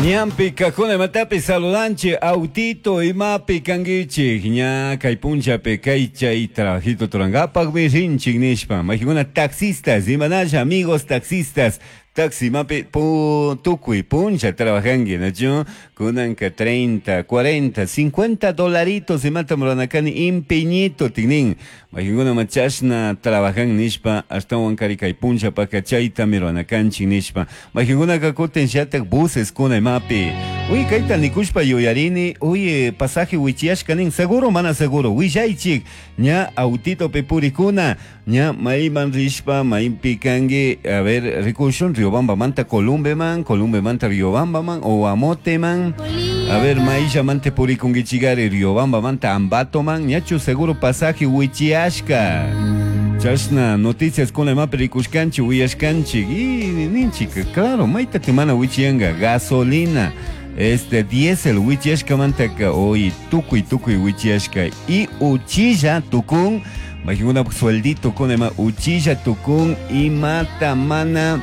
Ñanpi kajkuna imatapi saludanchik autito imapi kankichik ña kay punchapi kay chay trabajito turankapakmi rinchik nishpa mayqikuna taxistas imanalla amigos taxistas taxi imapi pu tukuy puncha trabajanki nachu kunanka 30 40 50 dolaritos imatam ruranakani empeñito tiknin mayqinkunama chashna trabajan nishpa ashtawan kari kay punchapaka chaytami ruranakanchik nishpa mayqinkunaka kutin shatak buses kuna imapi uy kayta nikushpa yuyarini uy pasaje wichiyashka nin seguro mana seguro willaychik ña autitopi purikuna ña mayman rishpa maypi kanki a ver rikushun Riobambamanta Columbeman Columbemanta Riobambaman o Amoteman a ver mayllamanta purikunkichikari Riobambamanta Ambatoman ñachu seguro pasaje wichiyashka chashna noticias kuna imapi rikushkanchik uyashkanchik y ninchik claro maytati mana wichiyanka gasolina este diésel wichiyashkamantaka hoy tukuy tukuy wichiyashka y uchilla tukun mayqinkunapak sueldito kuna ima uchilla tukun imata mana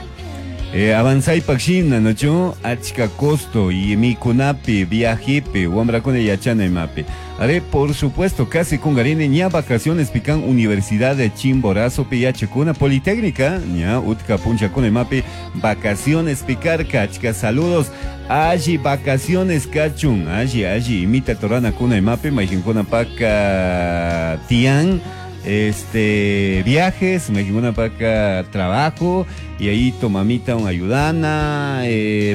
avanzaypak shina nachu achka costo y mikunapi viajepi wamrakuna yachana imapi are por supuesto casi kungarini ña vacaciones pican Universidad de Chimborazo pi yachakuna Politécnica ña utka punchakuna imapi vacaciones picarka achka saludos alli vacaciones kachun alli alli imita torana kuna imapi mayqinkunapaka tiyan este viajes mayqinkunapaka trabajo y ahí tu mamita un ayudana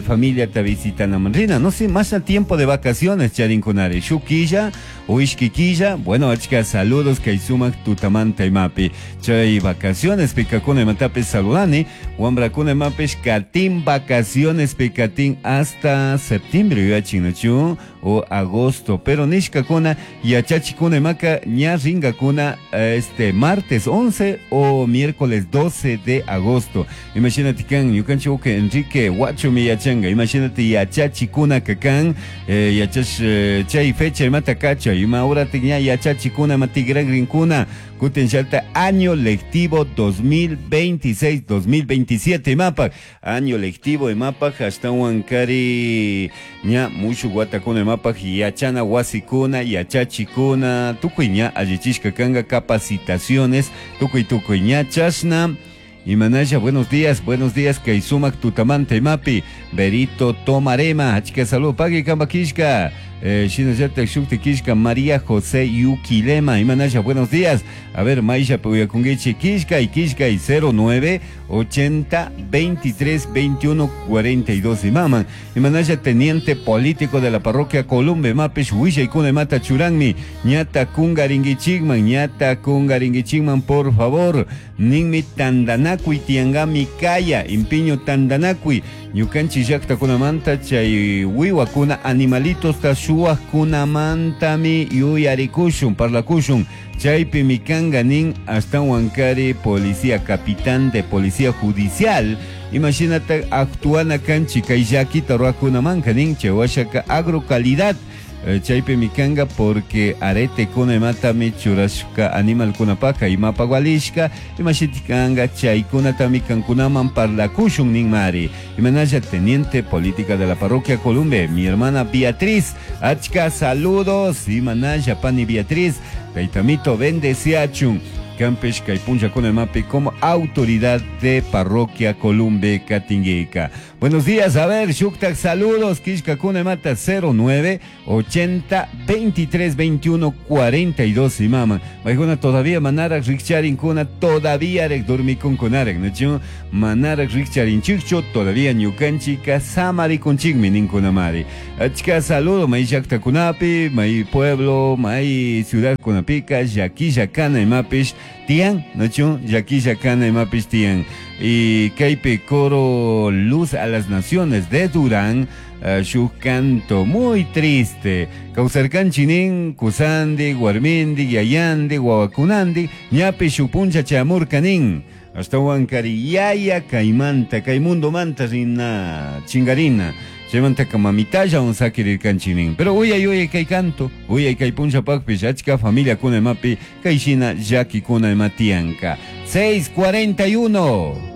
familia te visitana rina no sé más tiempo de vacaciones charinkunari shuk killa o ishki killa bueno achka saludos kay sumak tutamanta imapi chay vacaciones pikakuna imatapis saludani wambrakuna imapis katin vacaciones pikatin hasta septiembre yuyachin nachu o agosto pero nishkakuna yachachikuna imaka ña rinkakuna este martes 11 o miércoles 12 de agosto imagínate kan ñukanchik uka Enrique Huachumi yachanka imagínate yachachikuna kakan yachash chay fecha imata kacha ima horatik ña yachachikuna ima tigragrinkuna kutin shalta año lectivo 2026-2027 imapak año lectivo imapak ashtawan kari ña mushuk watakuna imapak yachana wasikuna yachachikuna tukuy ña allichishka kanka capacitaciones tukuy tukuy ña chashna Imanalla, buenos días, kay sumak tutamanta imapi, Berito Tomarema, achka salud, pagui kamba kishka, shinallatak shukti kishka, María José Yuquilema, Imanalla, buenos días, a ver, Maisha Puyakunguichi, kishka y kishka y 09 80 23 21 42 imaman, Imanalla, teniente político de la parroquia Columbe, Mapish, Huilla y Cune Mata Churanmi, ñata kungaringuichigman, ñata kungaringuichigman, por favor, ninmi tandanakuy tiangami kaya, impiño tandanakuy, ñukanchik llaqtakunamanta chay wiwakuna animalitos ta shuwaqkunamantami yuyarikushun, parlakushun, chaypi mikanga nin ashtawan kari policía capitán de policía judicial, imashinata actuana kanchik kay llakita ruwakunamanka nin chay washaka agrocalidad chaypi mikanga porque arete kuna imatami churashka animalkunapaka imapa walishka imashitikanga chaykunatami kankunaman parlakushun ninmari imanalla teniente política de la parroquia Columbe mi hermana Beatriz achka saludos imanalla pani Beatriz taytamito bendeciachun Campesh kay punchakuna imapi como autoridad de parroquia Columbe Katinguica. Buenos días, a ver, shuktak saludos, kishkakuna imata 09 80 23 21 42 imama. Maykuna todavía manarak rikcharinkuna, todavía rek dormikunkunarek, ¿no? Manarak rikcharinchikchu, todavía ñukanchika samarikunchikmi ninkunamari. Achka saludo, may llaqtakunapi, may pueblo, may ciudad kunapika, llakilla kana imapish tiyan, ¿no? Llakilla kana imapish tiyan. Y kaypi coro Luz a las Naciones de Durán, shuk canto muy triste. Kawsarkanchik nin, kusandi, warmindi, yayandi, wawakunandi, ñapi shuk puncha chamurka nin. Ashtawan kari yaya kaymanta, kay mundo manta rina chingarina. Chaymantaka mamitalla un sakirirkanchik nin. Pero uyay uyay kay canto, uyay kay punchapakpish achka familia kuna imapi, kay shina llakikuna ima tiyanka. 6:41.